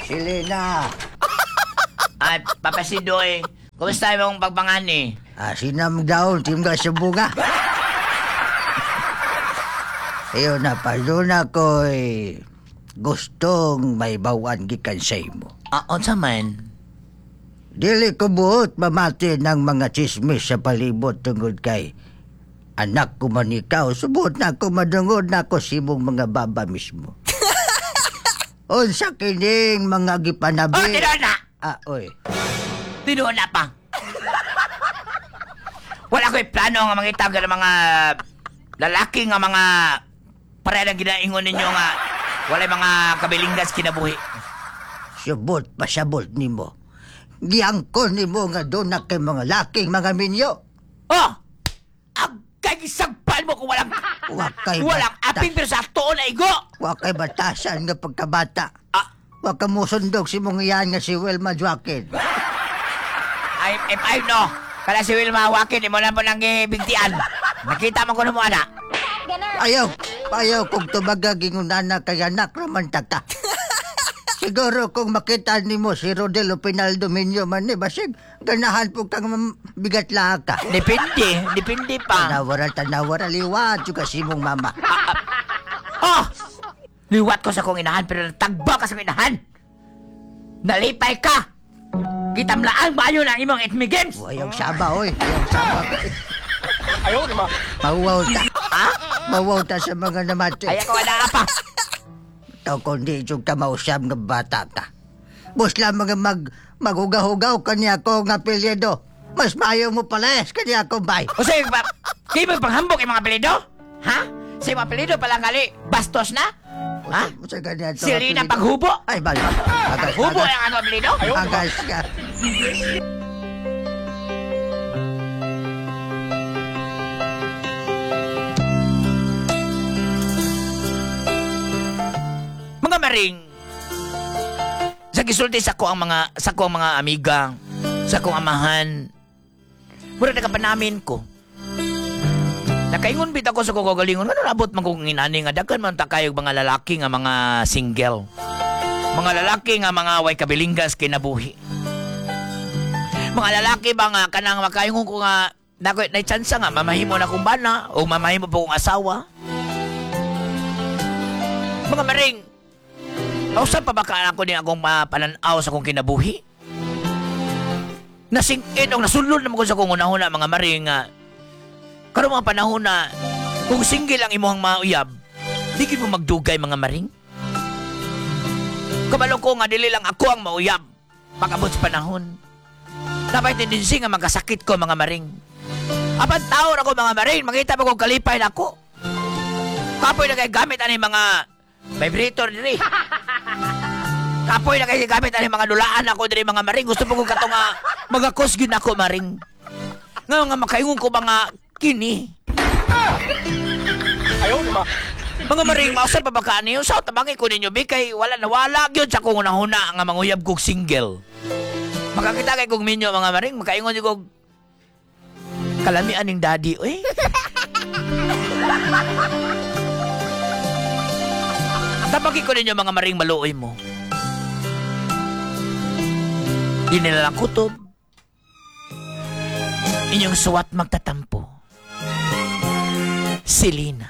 Selena. Ay, Papa Sidoy, kumusta imong pagpangani? Ah, sinam daon, timga sa bunga. Iyo na, paduna ko'y gustong may bawan gikan sa imo. Ah, unsa man? Dili ko buot mamati ng mga chismis sa palibot tungod kay anak ko man ikaw, subot na ako madungod na ako sa imong mga baba mismo. Unsa kining mga gipanabi? Oh, tinuod na! Ah, oy. Tinuod na pa. Wala ko'y plano nga mangitag ng mga lalaki nga mga pareha ng ginaingon ninyo nga walay mga kabilinggas kinabuhi. Subot pasabot nimo. Giangkon nimo nga doon na kay mga laking mga minyo. Oh! Agay gisagpan mo kung walang Wa kay walang aping pero sa tuon na igo. Wa kay batasan nga pagkabata. Ah, Wa ka musundog si mong iyan nga si Wilma Joaquin. I, if I know, kala si Wilma Joaquin, imo lang po nang gibigtian. Nakita mo ko mo ana. Ayaw, ayaw kung tumagag ingunana kay anak raman ta ka. Siguro kung makita nimo si Rodel Pinaldo Minyo man ni basig ganahan po kang bigat ka. Depende, depende pa. Tanawara, tanawara, liwat juga si mong mama. Oh! Liwat ko sa kong inahan pero natagba ka sa kong inahan. Nalipay ka. Gitamlaan ba yun ang imong Itmi Games? Ayaw saba, oy. Ayaw saba. Ayaw, di ba? Mawaw ta. Ha? Mawaw ta sa mga namati. Ay ako wala pa. Ikaw kundi yung ka mausap nga bata ka. Busla mga maghugaw-hugaw kanya ko nga apelyido. Mas maayo mo palayas kanya ko, bay. O sige, ba, kayo ba panghambok yung mga apelyido? Ha? Sa mga apelyido pala ngali, bastos na? Ha? Sa kanya to, Silina apelyido. paghubo? Ay, bal. Agas, Hubo agas. ang ano apelyido? Agas ka. Mga maring, sa gisulti sa ko ang mga sa ko ang mga amiga, sa akong amahan. Mura nakapanamin ko. Nakaingon bit ako sa kong kagalingon, ano nabot man kong inani nga daghan man ta kayog mga lalaki nga mga single. Mga lalaki nga mga way kabilinggas kinabuhi. Mga lalaki ba nga kanang makaingon ko nga nako nay tsansa nga mamahimo na kong bana o mamahimo po kong asawa. Mga maring, mausap pa ba ka ako ni akong mapananaw sa akong kinabuhi? Nasingin o nasulod naman ko sa akong unahuna mga maring nga karon mga panahon na kung single ang imuhang mauyab, di gid mo magdugay mga maring. Kabalo ko nga dili lang ako ang mauyab pag-abot sa panahon. Napay tendency nga magkasakit ko mga maring. Apan tao ra ko mga maring, makita mo kung kalipay na ako. Kapoy na kay gamit ani mga vibrator diri. Kapoy na kay gamit ani mga dulaan ako diri mga maring. Gusto po ko kato nga magakos gyud ako maring. Nga nga makaingon ko mga kini. Ayaw, di ba? Mga maring, mausap pa ba ka niyo? Sa tabangi ko ninyo, bi, kay wala na wala gyud sa akong unahuna nga manguyab kog single. Makakita kay kog minyo mga maring, makaingon jud kog kalamian ning daddy, oy. Tabagi ko ninyo mga maring maluoy mo. Di nila lang kutob. Inyong suwat magtatampo. Selena.